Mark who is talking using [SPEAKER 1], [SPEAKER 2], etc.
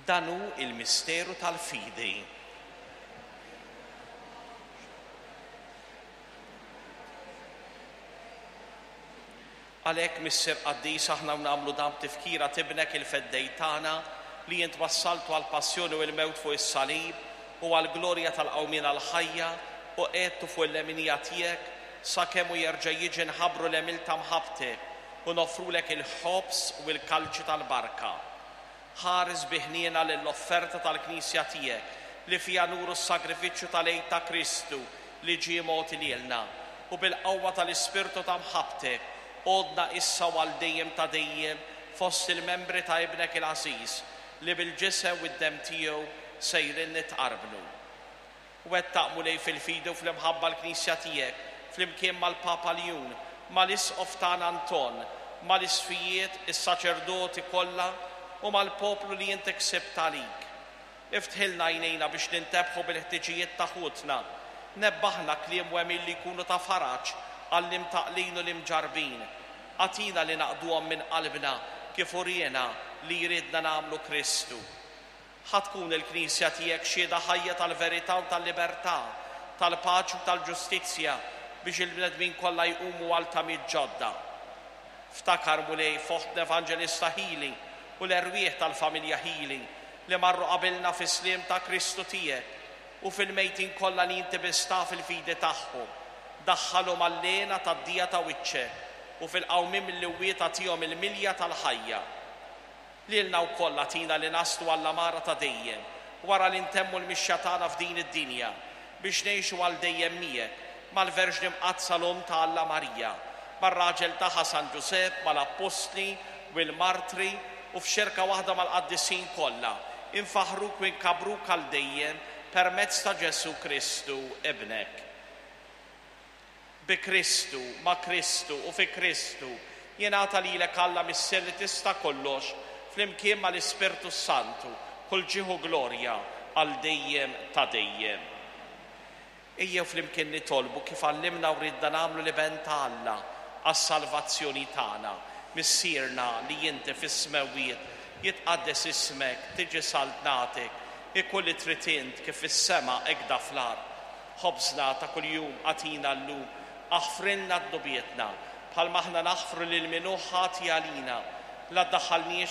[SPEAKER 1] Dan hu l-misteru tal-fidi. Għalhekk, Missier Qaddis, aħna u nagħmlu dan b'tifkira t'Ibnek il-Feddej tagħna, li int wassaltu għall-passjoni u l-mewt fuq is-salib u għall-glorja tal-qawmien għall-ħajja, u qegħedtu fuq il-leminija tiegħek, sakemm hu jerġa' jiġi nħabbru l-għemil ta' mħabbtek u noffrulek il-ħobż u l-kalċi tal-barka. Ħares bi ħniena lill-offerta tal-Knisja tiegħek, li fiha nuru s-sagrifiċċju tal-Għid ta' Kristu li ġie mogħti lilna, u bil-qawwa tal-Ispirtu ta' mħabbtek, għoddna issa u għal dejjem ta' dejjem fost il-membri ta' Ibnek il-għażiż, li bil-Ġisem u d-Demm tiegħu sejrin nitqarbnu. Wettaq, Mulej, fil-fidi u fl-imħabba l-Knisja tiegħek, flimkien mal-Papa Ljun, mal-Isqof tagħna Anton, mal-Isqfijiet, is-saċerdoti kollha u mal-poplu li int ksibt għalik. Iftħilna għajnejna biex nintebħu bil-ħtiġijiet ta' ħutna. Nebbaħna kliem u għemil li jkunu ta' faraġ għall-imtaqqlin u l-imġarrbin. Agħtina li naqduhom minn qalbna kif uriena li jridna nagħmlu Kristu. Ħa tkun il-Knisja tiegħek xhieda ħajja tal-verità u tal-libertà, tal-paċi u tal-ġustizzja biex il-bnedmin kollha jqumu għal tamiet ġodda. Ftakar, Mulej, f'oħtna Evanġelista Hili u l-erwieħ tal-familja Hili li marru qabilna fis-sliem ta' Kristu tiegħek u fil-mejtin kollha li inti biss taf il-fidi tagħhom. Daħħalhom għall-hena tad-dija ta' wiċċek u fil-qawmien mill-imwiet agħtihom il-milja tal-ħajja. Lilna wkoll agħtina li naslu għall-għamara ta' dejjem, wara li ntemmu l-mixja tagħna f'din id-dinja, biex ngħixu għal dejjem miegħek, mal-Verġni Mqaddsa l-Omm ta' Alla Marija, mar-raġel tagħha San Ġużepp, mal-Appostli u l-Martri, u f'xirka waħda mal-qaddisin kollha, infaħħruk u nkabbruk għal dejjem permezz ta' Ġesù Kristu, Ibnek. Bi Kristu, ma' Kristu u fi Kristu, jingħata lilek Alla Missier li tista' kollox, flimkien mal-Ispirtu s-Santu, kull ġieħ u glorja għal dejjem ta' dejjem. Ejjew flimkien nitolbu kif għallimna u riedna nagħmlu l-Iben ta' Alla għas-salvazzjoni tagħna. Missierna li inti fis-smewwiet, jitqaddes ismek, tiġi saltnatek, ikun li trid int kif fis-sema hekk fl-art. Ħobżna ta' kuljum agħtina llum. Aħfrilna dnubietna, bħalma aħna naħfru lil min hu ħati għalina. La ddaħħalniex.